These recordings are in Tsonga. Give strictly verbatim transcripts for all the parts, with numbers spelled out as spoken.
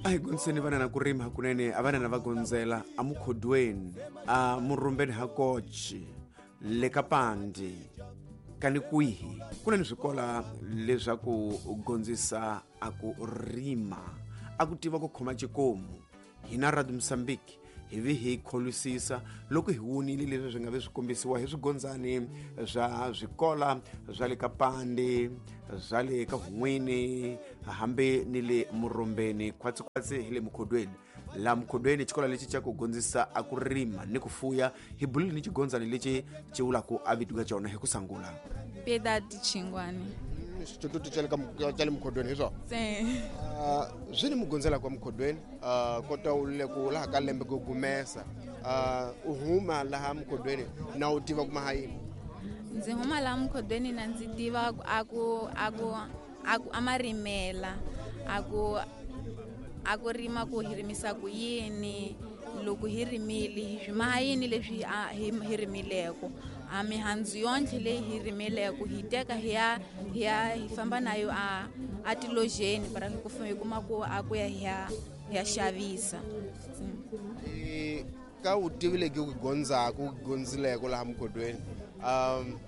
A hi gondziseni vana na ku rima hakunene a vana na va gondzela a mukhodweni a murumbeni ha kochi le ka pandi kani kwihi ku na ni swikola leswaku gondzisa a ku rima a ku tiva ku khoma xikomu hina Radio Mozambique hi vi hi kholisisa loko hi wonile leswi swi nga vi swi kombisiwa hi swigondzani swa swikola swa le ka pandi swa le ka hun'wini hambi ni le murumbeni khwatsikhwatsi hi le mukhodweni la mukhodweni xikolo lexi xa ku gondzisa a ku rima ni ku fuya hi bulile ni xigondzani lexi xi vulaka a vito ka xona hi ku sangula Piedade Chingwani xitutu xa le ka xa le mukhodweni hi swona swi ni mugondzela kwa mukhodweni kota u le ku laha ka lembe ku gumesa u huma laha mukhodweni na u tiva ku maha yini ndzi huma laha mukhodweni na ndzi tiva a ku a ku a ku a marimela a ku a ku rima ku hi rimisa ku yini loko hi rimile hi swi maha yini leswi hi hi rimileko a mihandzu yonhle leyi hi rimileko hi teka hi ya hi ya hi famba nayo a a tilojeni para ku hi kuma ku a ku ya hi ya hi ya xavisa ka vutivi lebyi u gondzaka u gondzileko laha mukhodweni um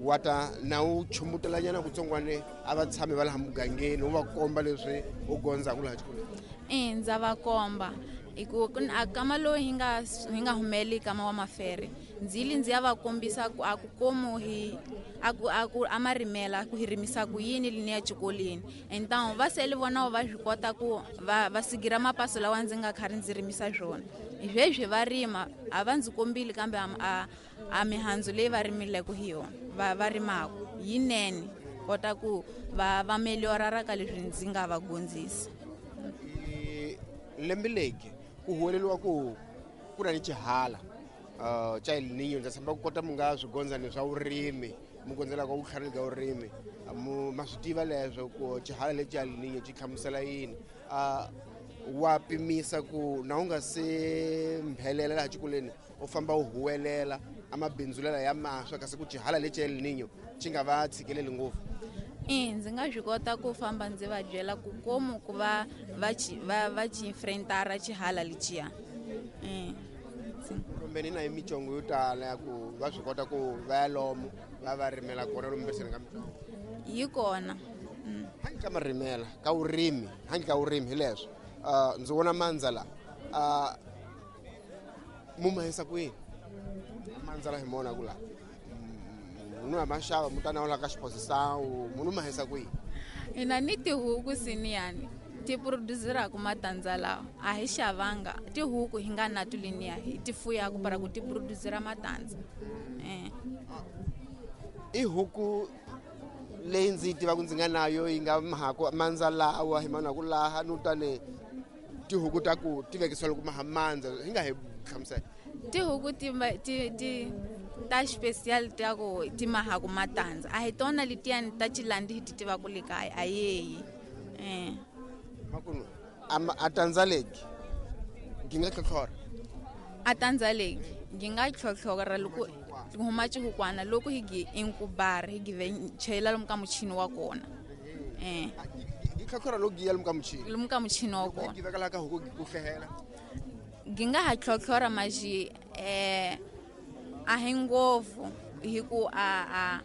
wa ta na u chumutelanyana kutsongwane a va tshami va laha mugangeni u va komba leswi u gondzaka laha xikolweni e ndza va komba hi ku a kama lowu hi nga hi nga humeli kama wa mafere ndzi ndzi ya va kombisa ku a ku komu hi a ku a ku a marimela ku hi rimisa ku yini lini ya xikolweni então va sele vona va swi kota ku va va sigira mapaso lawa ndzi nga khari ndzi rimisa swona sweswi va rima a va ndzi kombile kambe a a mihandzu leyi va rimileke hi yona va va rimaka yinene kota ku va va meliorara ka leswi ndzi nga va gondzisa lembe legi ku huweleliwa ku ku na ni xihala uh xa El Niño ndza tshemba ku kota mu nga swigondzani swa vurimi mu gondzelaka vutlhari bya vurimi mu ma swi tiva leswo ku xihala lexi El Niño xi hlamusela yini uh wa pimisa ku na u nga se mphelela laha xikolweni u famba u huwelela amabindzulela ya maswa kasi ku xihala lexi El Niño xi nga va tshikeleli ngopfu e ndzi nga swi kota ku famba ndzi va byela ku komu ku va va va va xi enfrentara xihala lexiya e kumbe ni na micongo yo tala ya ku va swi kota ku va ya lomu va va rimela kona lomu mbiseni ka micongo yi kona handle ka marimela ka vurimi handle ka vurimi hi leswo uh ndzi vona mandza la uh mu mahisa kwini mandza la hi mona ku la munhu a maxava mutana wa la ka xiphosisawu munhu mahisa kwihi hina ni tihuku siniyani ti produzeraku matandza lawa a hi xavanga tihuku hi nga na tuliniya hi ti fuyaku para ku ti produzera matandza eh i huku leyi ndzi yi tivaka ndzi nga nayo yi nga mahaku mandza lawa hi mana ku laha no tani tihuku ta ku ti vekisiwa loko maha mandza hi nga hi hlamusela tihuku ti ti ti ta special ta ku ti mahaku matandza a hi tona letiyani ta xilandi hi ti tivaka le kaya a yeyi eh makunu a tandza legi ngi nga tlhotlhora a tandza legi ngi nga tlhotlhora loko huma xihukwana loko hi gi inkubar hi give chela lomu ka muchini wa kona eh gi tlhotlhora loko gi ya lomu ka muchini lomu ka muchini wa kona gi veka la ka huku ku hlehela gi nga ha tlhotlhora maji eh a hi ngopfu hi ku a a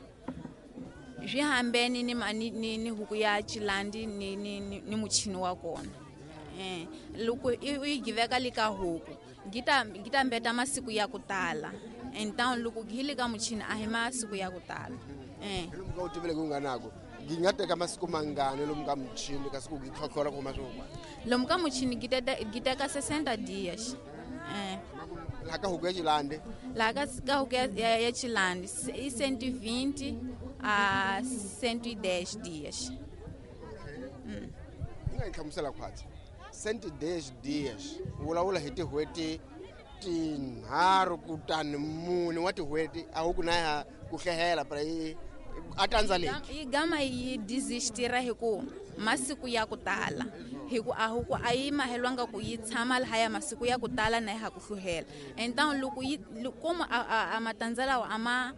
swi hambene ni ni ni huku ya xilandi ni ni ni muchini wa kona eh loko u yi giveka le ka huku gi ta gi ta mbeta masiku ya ku tala então loko hi le ka muchini a hi masiku ya ku tala eh lomu ka u tivile ku nga nako gi nga teka masiku mangani lomu ka muchini kasi ku gi tlhotlhora ku huma swihukwana lomu ka muchini gi teka gi teka sessenta dias eh laha ka huku ya xilandi laha ka ka huku ya ya, ya xilandi i cento e vinte a cento e dez dias mm i nga yi hlamusela khwatsi cento e dez dias vulavula hi tin'hweti tinharhu kutani mune wa tin'hweti a huku na ya ku hlehela para yi a tandza leki yi gama yi desistira hi ku masiku ya ku tala hi ku a huku a yi mahelwanga ku yi tshama lahaya masiku ya ku tala na ya ha ku hluhela então loko yi komu a, a, a matandza lawa a ma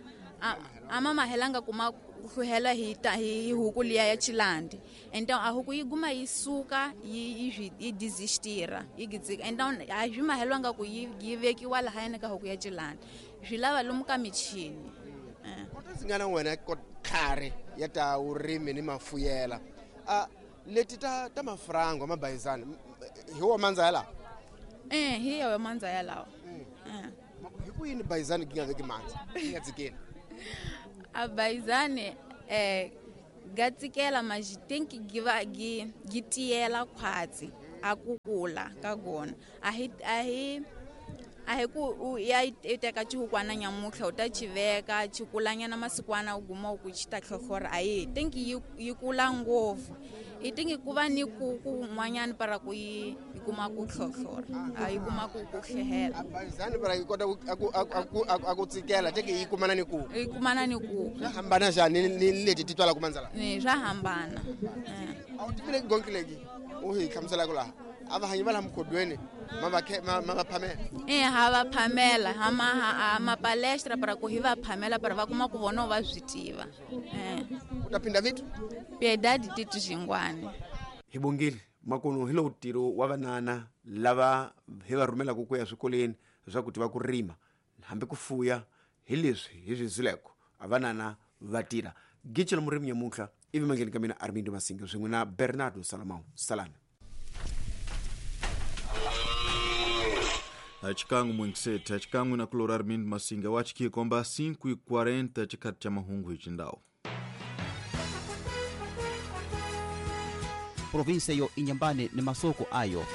a ma mahelanga ku ma hluhela hi ta hi huku liya ya chilandi. Então a huku yi guma yi suka yi yi yi desistira yi gidzika. Então a swi mahelwanga ku yi yi vekiwa lahayani ka huku ya chilandi, swi lava lomu ka michini. Kota ndzi nga na wena khare ya ta vurimi ni mafuyela a leti ta ta mafrango mabayizani hi wo mandza ya lawa? Eh, hi yo mandza ya lawa. Hi ku yini bayizani gi nga veki mandza yi nga dzikeli? A bayizani eh ga tsikela mas tem que gi va gi gi tiyela khwatsi a ku kula ka gona. A hi a hi a hi ku u ya i teka xihukwana nyamutlha u ta xi veka xi kulanyana masikwana u guma u ku xi ta tlhotlhora. A yi think yi yi kula ngopfu, i think ku va ni ku kun'wanyana para ku yi yi kuma ku tlhotlhora, a yi kuma ku ku hlehela. A bayizani para yi kota ku a ku a ku a ku tsikela teke yi kumana ni ku yi kumana ni ku swa hambana njhani ni leti ti twalaka mandza lawa? Ni swa hambana. A wu tivile gonki leki u hi hlamuselaka laha a va hanyi va laha mukhodweni ma va ma va phamela? Eh, ha va phamela ha ma ha ma palestra para ku hi va phamela para va kuma ku vona va swi tiva. Eh, u ta phinda vitu Piedade Tito Xingwani. Hi bongile makuno hi lowu ntirho wa vanana lava hi va rhumelaka ku ya swikolweni leswaku tiva ku rima hambi ku fuya hi leswi hi swi zileko a vanana va tirha. Gicela murimi nyamuntlha ivi mangheni ka mina Armindo Masinga swin'we na Bernardo Salamão Salani. Achikangu mwengisete achikangu na kulora Armindo Masinga wachikie kwamba cinco e quarenta chikati cha mahungu hichindao. Província yo Inhambane ni masoko ayo.